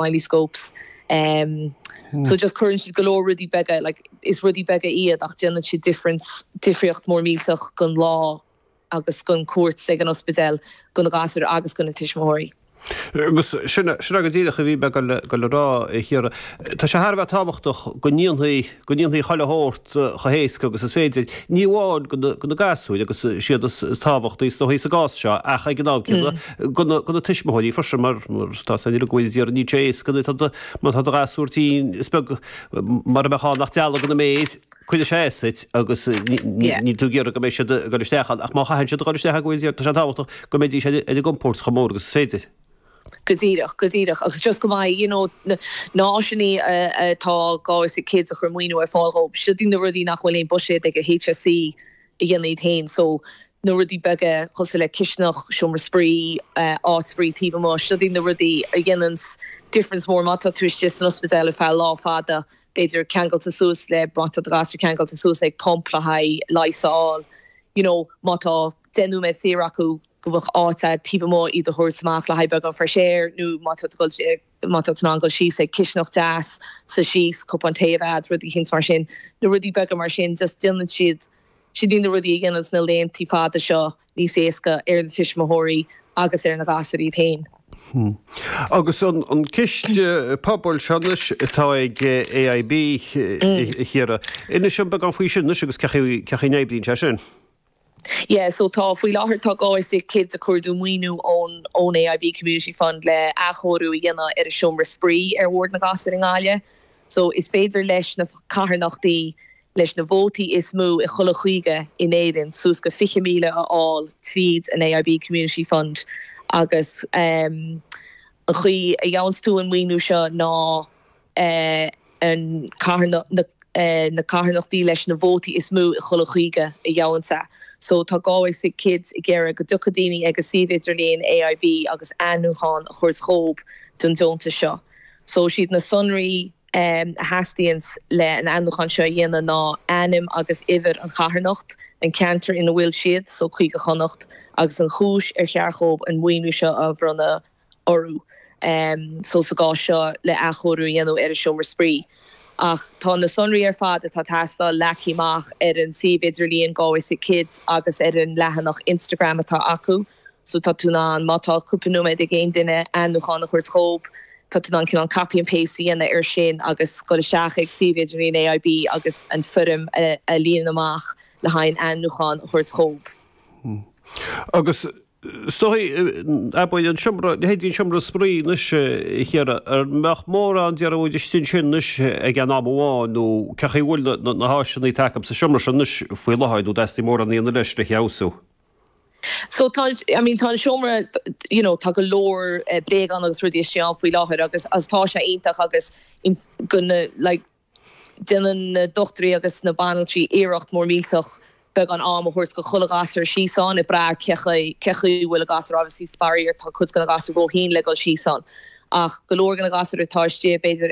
Smileyscopes. So just cuireann siad go leor rudaí beaga, like is rudaí beaga iad ach déanann siad difference, difríocht mór millteach don lá agus don cuairt ag an ospidéal do na gasúir agus do na tuismitheoirí. Agus sin é go díreach a bhí mé ag dul a rá, a Chiara. Tá sé thar a bheith tábhachtach go ndéanfaí, go ndéanfaí chuile shórt chomh héasca agus is féidir, ní amháin do na gasúir, agus is iad is tábhachtaí is dóichí sa gcás seo, ach ag an am céanna do na tuismitheoirí freisin, mar tá a fhios againn go bhfuil iad níl sé éasca má tá do ghasúr tinn, is beag mar a bheadh ann ach dealg ina méir, cuirfidh sé as duit agus níl tú ag iarraidh go mbeidh siad ag dul isteach ann, ach má chaitheann siad a dhul isteach ann go bhfuil tá sé tábhachtach go mbeidís ar a gcompord chomh mór agus is féidir. Go díreach, go díreach. Agus just go mbeidh, you know, na háiseanna atá Galway Sick Kids a chur maoiniú ar fáil dhóibh, siod iad na rudaí nach bhfuil aon buiséad ag an HSE a dhéanamh iad féin. So, na rudaí beaga cosúil le cisteanach, seomra spraoi, áit spraoi taobh amuigh, siod iad na rudaí a dhéananns difference mór má tá tú istigh san ospidéal ar feadh lá fada, b'fhéidir ceangailte suas le, má tá do ghasúr ceangailte suas ag pump le haghaidh leigheas a fháil, you know, má tá 10 nóiméad saor acu go mbeadh áit a'd taobh amuigh iad a thabhairt amach le haghaidh beagán fresh air nó má tá tú ag dul, má tá tú in ann dul síos ag cisteanach deas, suí síos, cupán tae a bheith a'd, rudaí eicínt mar sin, na rudaí beaga mar sin, just déanann siad Siod iad na rudaí a dhéananns na laethanta fada seo níos éasca ar na tuismitheoirí agus ar na gasúir iad féin. Agus an ciste pobail seo anois atá ag AIB, a Chiara, inis dom beagán faoi sin anois agus cén chaoi a n-oibríonn sé sin. Yeah, so tá, faoi láthair tá Galway Sick Kids ag cuardú maoiniú ón ón AIB Community Fund le athchóiriú a dhéanamh ar an seomra spraoi ar bhord na ngasúr i nGaillimh. So is féidir leis na carthanachtaí leis na vótaí is mó i chuile chúige in Éirinn, suas go 20,000 a fháil tríd an AIB Community Fund agus an chaoi a gheobhanns tú an maoiniú seo ná an na carthanachtaí leis na vótaí is mó i chuile chúige a gheobhanns é. So tá Galway Sick Kids ag iarraidh go dtiocfaidh daoine ag an suíomh idirlíon AIB agus ainmniúchán a thabhairt dhób don deontas seo. So siad na sonraí a theastaíonns le an ainmniúchán seo a dhéanamh ná ainm agus uimhir an charthanacht, an ceantar ina bhfuil siad, so Cúige Chonnacht, agus an chúis ar cheart dhóibh an maoiniú seo a bhronnadh orthu, so sa gcás seo le athchóiriú a dhéanamh ar an seomra spraoi. Ach tá na sonraí ar fad atá ag teastáil leagtha amach ar an suíomh idirlíon Galway Sick Kids agus ar an leathanach Instagram atá acu. So tá tú in ann, má tá cúpla nóiméad ag aon duine ainmniúchán a thabhairt dhób, tá tú in ann cineál copy and paste a dhéanamh air sin agus dul isteach ag suíomh idirlíon AIB agus an foirm a líonadh amach le haghaidh an ainmniúchán a thabhairt dhób. Agus is dóigh, abair, an seomra, leithéidí an seomra spraoi anois, a Chiara, an mbeadh mórán déarfaidh muid istigh ansin anois ag aon am amháin nó cén chaoi a bhfuil na háiseanna atá acu sa seomra sin anois faoi láthair nó dteastaíonn mórán a dhéanamh leis le feabhsú? So tá, I mean tá an seomra, you know, tá go leor bréagán agus rudaí istigh ann faoi láthair agus agus tá sé iontach agus go na like déanann na dochtúirí agus na banaltraí iarracht mór millteach beagán am a thabhairt go chuile ghasúr síos ann ag brath ar cé chaoi cé chaoi a bhfuil an gasúr obviously faraor tá cuid de na gasúir róthinn le dul síos ann ach go leor de na gasúir atá istigh b'fhéidir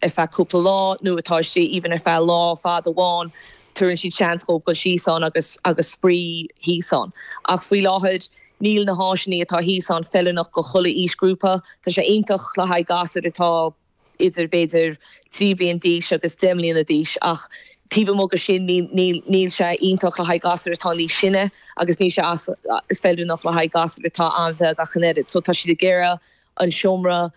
ar feadh cúpla lá nó atá istigh even ar feadh lá fada amháin, tabharann siad seans dhóibh dul síos ann agus agus spraoi thíos ann. Ach faoi láthair níl na háiseanna atá thíos ann feiliúnach go chuile aoisghrúpa. Tá sé iontach le haghaidh gasúir atá idir b'fhéidir 3 bliain d'aois agus 10 mbliana d'aois ach taobh amuigh de sin níl níl níl sé iontach le haghaidh gasúir atá níos sine agus níl sé as feiliúnach le haghaidh gasúir atá an-bheag ach an oiread. So tá siad ag iarraidh an seomra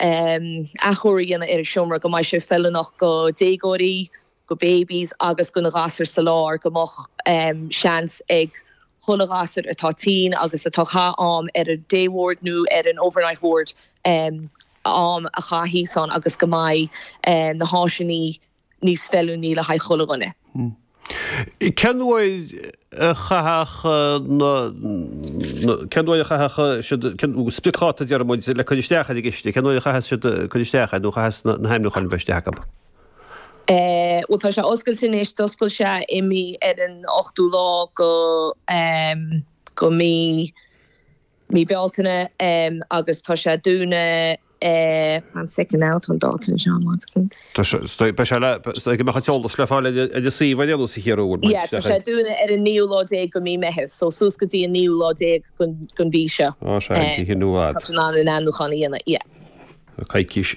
athchóiriú a dhéanamh ar an seomra go mbeidh sé feiliúnach go déagóirí, go babies agus go na gasúir sa lár, go mbeadh seans ag chuile ghasúr atá tinn agus atá ag caitheamh am ar an day ward nó ar an overnight ward am a chaitheamh thíos ann agus go mbeidh na háiseanna níos feiliúnaí le haghaidh chuile dhuine. Cén uair a chaithfeadh na, cén uair a chaithfeadh siad, spriocdháta a deir muid, le cur isteach ar an gciste, cén uair a chaithfeas siad cur isteach air nó chaithfeas na hainmniúcháin a bheith isteach acu? Bhuel tá sé oscailte anois, d'oscail sé i mí, ar an ochtú lá go, go mí, mí Bealtaine agus tá sé dúnadh one second now tá an dáta anseo one second. Tá sé, beidh sé le, go mbeadh an t-eolas le fáil ar an suíomh ar aon nós a Chiara bhfuil muid. Yeah tá sé dúnadh ar an naoú lá déag go mí Meitheamh so suas go dtí an naoú lá déag den mhí seo. Á sea, an oíche nua fhad. Tá tú in ann an ainmniúchán a dhéanamh, yeah. Coicís.